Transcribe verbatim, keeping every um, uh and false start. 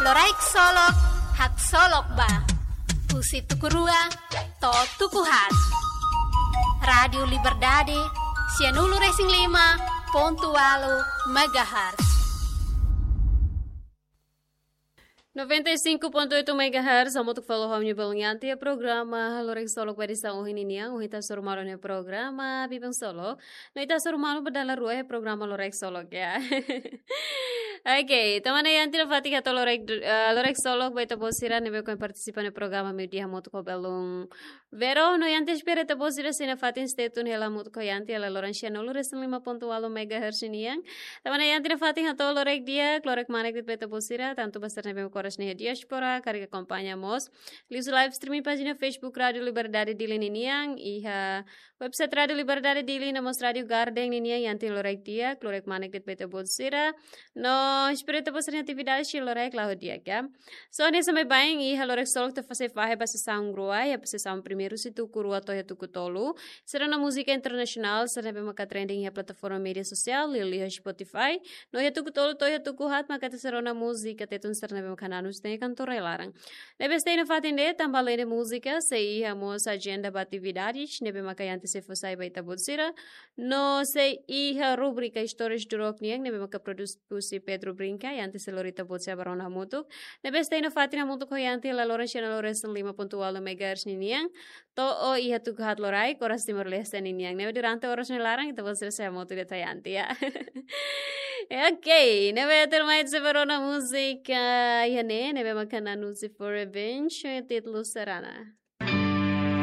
Loraik Solok, haksolok ba. Husi tuku rua to'o tuku haat. Rádiu Liberdade, sianulu-resin-lima pontu ualu megahertz. Noventa e cinco ponto oito megahertz, hamutuk fali ho ami-nia belun Yanti, iha programa Loraik Solok ba edisaun ohin nian. Ohin ita hasoru malu iha programa Biban Solok. No ita hasoru malu ba dala rua iha programa Loraik Solok, ya. Oke, tanba ne'e Yanti nafatin hato'o Loraik, eh, Loraik Solok ba ita-boot sira ne'ebé ohin partisipa iha programa meiudia hamutuk ho belun Vero. No Yanti espera ita-boot sira sei nafatin stay tune hela hamutuk ho Yanti iha loron sianulu-resin-lima pontu ualu megahertz nian. Tanba ne'e Yanti nafatin hato'o loraik di'ak, loraik kmanek de'it ba ita-boot sira, tantu ba sira ne'ebé maka oras ne'e iha diáspora, karik akompaña mós liuhusi live streaming pájina Facebook Rádiu Liberdade Dili ninian, iha website Rádiu Liberdade Dili no mós Rádiu Garden ninian. Yanti loraik di'ak, loraik kmanek de'it ba ita-boot sira. No espera ita-boot sira-nia atividade sei loraik, la'o di'ak, ya. So, hanesan baibain, iha Loraik Solok ita sei fahe ba sesaun rua, iha sesaun primeiru husi tuku rua to'o iha tuku tolu. Sira-nia múzika internasionál, sira ne'ebé maka trending iha plataforma média sosiál, liuliu iha Spotify. No iha tuku tolu to'o iha tuku haat maka ita sei rona múzika Tetun sira ne'ebé maka nanus iha kantor rai-laran. Ne'ebé stay nafatin de'it, tanba alende múzika, sei iha mós ajenda ba atividades ne'ebé maka Yanti sei fó sai ba ita-boot sira. No sei iha rubrika Histórias do Rock nian, ne'ebé maka prodús husi Pedro Brinca, Yanti sei lori ita-boot sira ba rona hamutuk. Ne'ebé stay nafatin hamutuk ho Yanti iha loron sianulu-resin-lima pontu ualu megahertz ninian, to'o iha tuku haat loraik, oras Timor-Leste ninian. Ne'ebé durante oras ne'e laran, ita-boot sira sei hamutuk de'it ho Yanti, ya. Oke, ne'ebé tuirmai ita sei ba rona múzika iha ne'e, ne'ebé maka nanus husi For Revenge, títulu Serana.